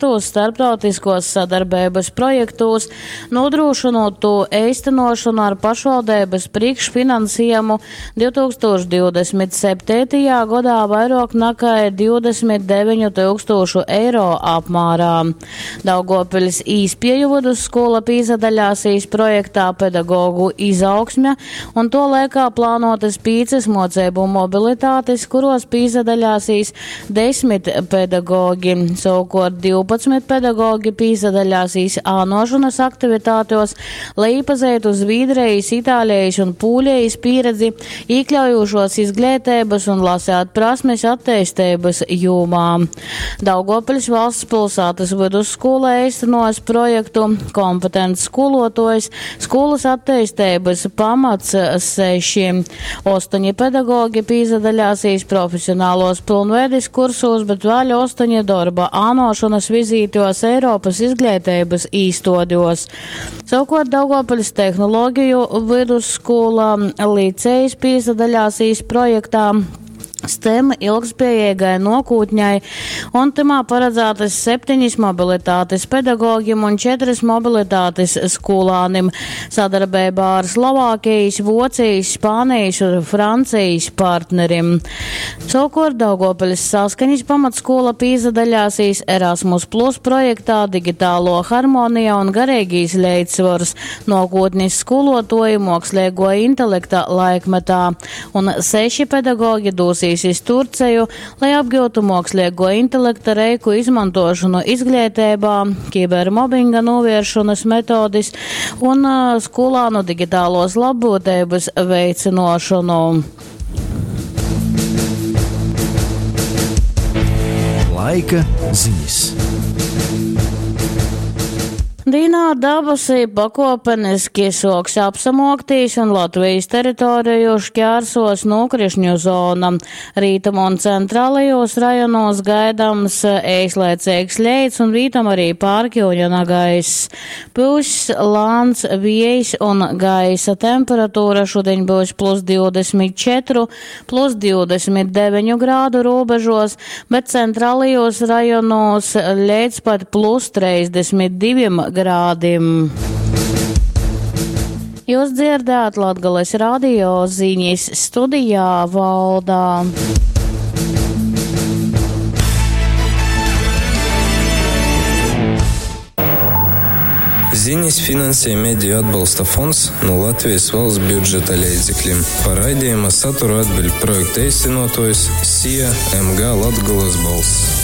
Starptautiskuos sadarbeibys projektūs, nūdrūšynūt tū eistynuošonu ar pašvaldeibys prīškfinansiejumu 2027. godā vairuok nakai 29 tyukstūšu eiro apmārā. Daugovpiļs Īspieju vydusskūla pīsadaļāsīs projektā Pedagogu izaugsme, un tuo laikā plānuotys pīcys muoceibu mobilitātis, kuruos pīsadaļāsīs desmit pedagogi. Sovukuort 12 pedagogi pīsadaļāsīs ānuošonys aktivitātuos, lai īpazeitu Zvīdrejis, Itālejis un Pūlejis pīredzi īkļaujūšuos izgleiteibys un laseit prasmis atteisteibys jūmā. Daugovpiļs Valsts pylsātys vydusskūla eistynuos projektu Kompetents skūluotuojs, skūlys atteisteibys pamats seši. Ostoņi pedagogi pīsadaļāsīs profesionaluos pylnveidis kursūs, bet vēļ ostoņi dorba ānuošonys vizītuos Eiropys izgleiteibys īstuoduos. Sovukuort Daugovpiļs Tehnologeju vydusskūla licejs pīsadaļāsīs projektā STEM ilgspējeigai nuokūtņai, un tymā paradzātys septenis mobilitatis pedagogim un četrys mobilitatis skūlānim sadarbeibā ar Slovākejis, Vuocejis, Spānejis un Francejis partnerim. Sovukuort Daugovpiļs Saskaņis pamatskūla pīsadaļāsīs Erasmus Plus projektā Digitālo harmonija un gareigīs leidzsvors, nuokūtnis skūluotuoji muoksleiguo intelekta laikmetā, un seši pedagogi dūsīs iz Turceju, lai apgiutu muoksleiguo intelekta reiku izmontuošonu izgleiteibā, kibermobinga nūvieršonys metodis un skūlānu digitaluos labbyuteibys veicynuošonu. Laika zinis. Dīnā dabasi pakuopeniski suoks apsamuoktīs un Latvejis teritoreju šķērsos nūkrišņu zona. Rītumu un centralajūs rajonūs gaidams eislaiceigs leits un vītom arī pārkiuņa nagaiss. Pyuss lāns viejs un gaisa temperatūra šudiņ byus plus 24, plus 29 grādu robežos, bet centrālajos rajonos līdz pat plus 32 grādim. Jūs dzirdējāt Latgales radio ziņas studijā Valdā. Ziņas finansē Mediju atbalsta fonds no Latvijas valsts budžeta leidzekļiem. Par raidījuma saturu atbild projekta īstenotojs SIA MG Latgolas balss.